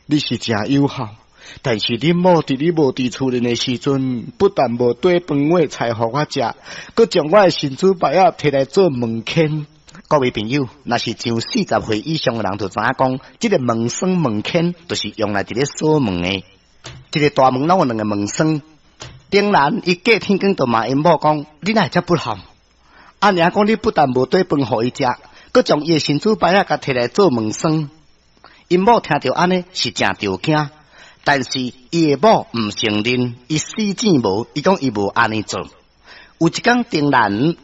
你是誠有孝，但是恁某佇你無佇厝內的時陣，不但無綴飯碗菜予我食，閣將我的神主牌仔提來做門牽。各位朋友，若是上40歲以上的人，就知影講，這个門栓門牽，就是用來佇咧鎖門的。一个大門攏有兩个門栓。丁蘭伊隔天光就罵𪜶某講：你哪會遮不孝？阿娘講你不但無綴飯予伊食，閣將伊的神主牌仔共提來做門栓。𪜶某聽著按呢是誠著驚，但是伊的某毋承認，伊死糋無，伊講伊無按呢做。有一工丁蘭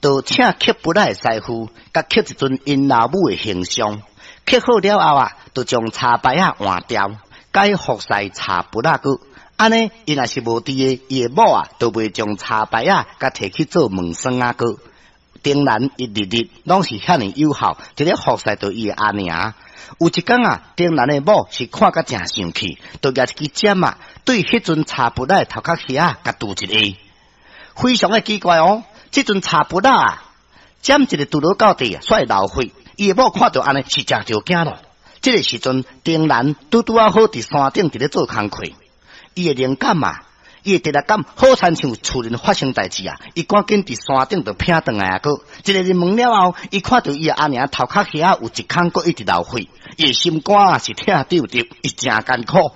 就請刻佛仔的師傅，共刻一尊𪜶老母的形象，刻好了後啊，就將柴牌仔換掉，改服侍柴佛仔閣。按呢，伊若是無佇的，伊的某啊，就袂將柴牌仔共提去做門栓仔閣。丁蘭伊日日攏是遐爾有孝，佇咧服侍著伊的阿娘。有一工啊，丁蘭的某是看甲誠生氣，就舉一支針啊，對彼尊柴佛仔的頭殼遐共揬一下，非常的奇怪哦。這尊柴佛仔啊，針一个揬落到地啊，煞會流血。伊的某看著按呢是誠著驚咯。這个時陣，丁蘭拄拄仔好佇山頂佇咧做工課，伊的靈感啊，伊的第六感好親像厝內發生代誌啊！伊趕緊佇山頂就避轉來啊！閣一个入門了後，伊看著伊的阿娘頭殼遐有一空，閣一直流血，伊的心肝啊是疼丟丟，伊誠艱苦。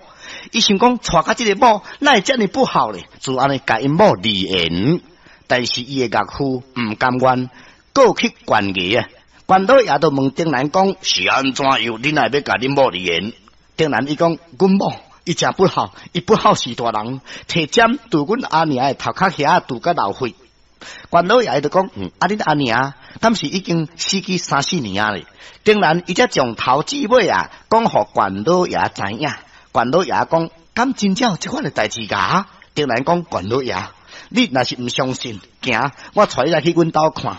伊想講，娶甲這个某，哪會遮爾不孝咧？就按呢共𪜶某離言，但是伊的岳父毋甘願，閣去懸崖啊！關老爺就問丁蘭講：是按怎樣？你哪會欲共恁某離言？丁蘭伊講：阮某。伊誠不孝，伊不孝是大人，提針揬阮阿娘的頭殼遐揬甲流血。關老爺就講：啊，恁阿娘敢是已經死去三四年啊咧？丁蘭伊才從頭至尾啊，講予關老爺知影。關老爺講：敢真正有這款的代誌㗎？丁蘭講：關老爺，你若是毋相信，行，我帶你來去阮兜看。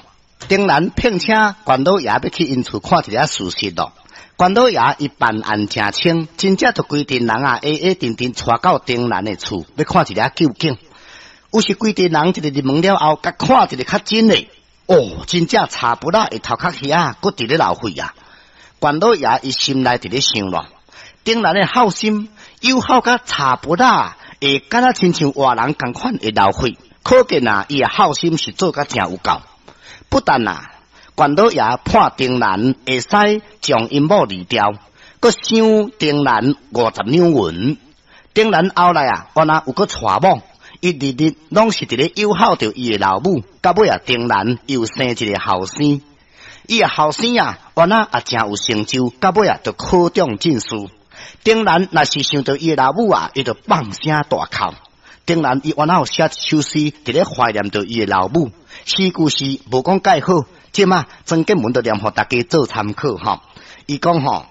丁蘭聘請關老爺欲去𪜶厝看一下事實咯。關老爺伊辦案誠清，真正就規陣人啊，矮矮陣陣𤆬到丁蘭的厝，欲看一下究竟。有時規陣人一个入門了後，共看一个較真的，哦，真正柴佛仔的頭殼遐，閣佇咧流血啊！關老爺伊心內佇咧想咯，丁蘭的孝心有孝甲柴佛仔會敢若親像活人仝款會流血，可見啊，伊的孝心是做甲誠有夠。不但啊，關老爺判丁蘭會使將𪜶某離掉，閣賞丁蘭50兩銀。丁蘭後來啊，原來有閣娶某，伊日日攏是佇咧友好著伊的老母，到尾啊，丁蘭又生一个後生。伊的後生啊，原來也誠有成就，到尾啊，就考中進士。丁蘭若是想著伊的老母啊，伊就放聲大哭。丁蘭伊原來有寫一首詩，佇咧懷念著伊的老母。詩句是無講蓋好。這馬曾建文就念予大家做參考吼。伊講吼：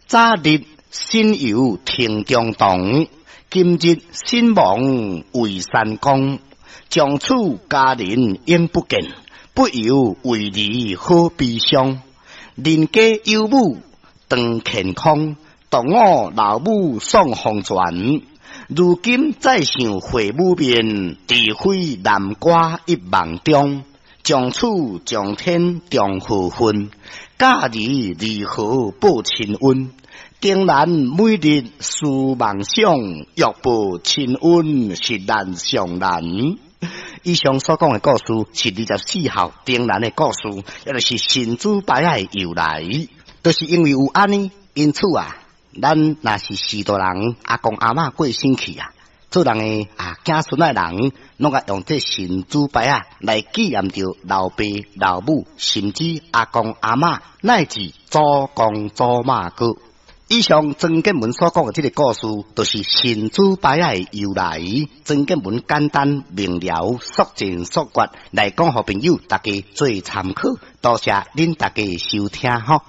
早日神遊庭中堂，今日身亡為山公。從此家人永不見，不由為兒好悲傷。人家有母當乾空，獨我老母喪黃泉。如今再想回母面，除非南瓜一夢中。從此上天重何分？教兒如何報親恩？丁蘭每日思夢想，欲報親恩是難上難。以上所講的故事是24孝丁蘭的故事，也就是神主牌仔的由來。就是因為有按呢，因此啊，咱若是序大人，阿公阿嬤過身去啊，做人的啊，子孫的人，攏愛用這神主牌仔來紀念著老爸老母，甚至阿公阿嬤，乃至祖公祖媽閣。以上曾建文所講的這个故事，就是神主牌仔的由來。曾建文簡單明了、速戰速決來講，予朋友大家做參考。多謝恁大家收聽吼。